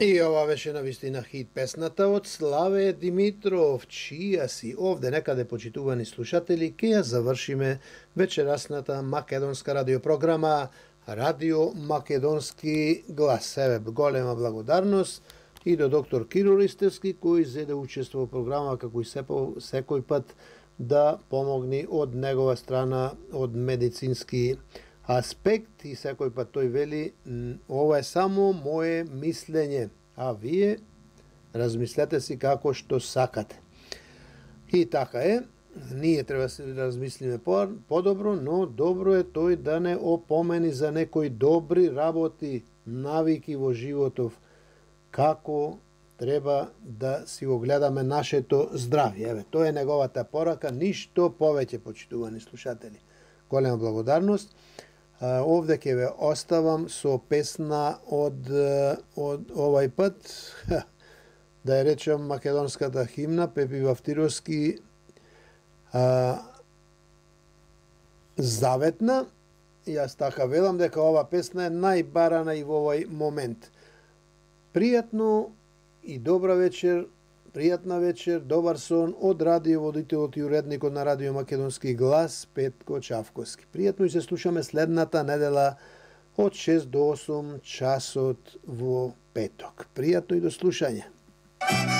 И ова беше навистина хит песната од Славе Димитров, чија си овде некаде, почитувани слушатели, ке ја завршиме вечерасната македонска радиопрограма Радио Македонски глас. Еве, голема благодарност и до доктор Киро Ристевски, кој зеде учество во програма како и секој пат да помогни од негова страна, од медицински аспект, и секој пат тој вели, ова е само мое мислење, а вие размислете си како што сакате. И така е, ние треба да се размислиме подобро, но добро е тој да не опомени за некои добри работи, навики во животов, како треба да си го гледаме нашето здравје. Еве, тоа е неговата порака, ништо повеќе, почитувани слушатели. Голема благодарност. Овде ќе ве оставам со песна од овај пат, да ја речем македонската химна, Пепи Вавтировски, Заветна. Јас така велам дека ова песна е најбарана и во овој момент. Пријатно и добра вечер, пријатна вечер, добар сон од радиоводителот и уредникот на Радио Македонски глас Петко Чавковски. Пријатно и се слушаме следната недела од 6 до 8 часот во петок. Пријатно и до слушање.